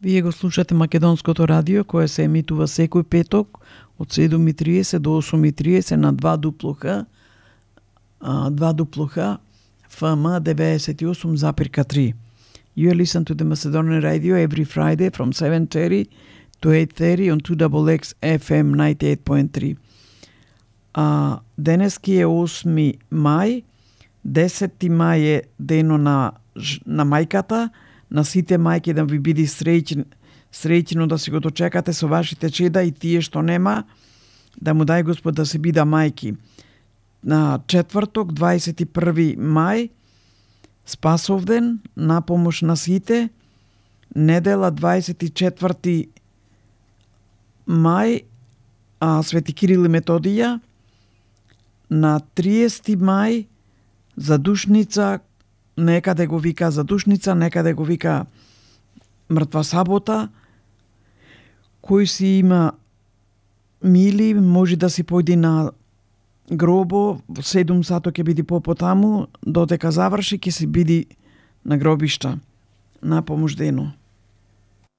Вие го слушате Македонското радио, кое се емитува секој петок од 7:30 до 8:30 на 2 дуплуха FM 98,3. You listen to the Macedonian radio every Friday from 7:30 to 8:30 on 2XX FM 98.3. Денески е 8 мај, 10 мај е дено на мајката, на сите мајки да ви биде среќно да си го дочекате со вашите чеда и тие што нема, да му дај Господ да се бида мајки. На четврток, 21 мај, Спасовден, на помош на сите, недела 24 мај, Свети Кирил и Методија, на 30 мај, задушница, некаде го вика задушница, некаде го вика мртва сабота, кој си има мили, може да си појди на гробо, 7 сато ќе биде попотаму, додека заврши ќе си биди на гробишта на помош дено.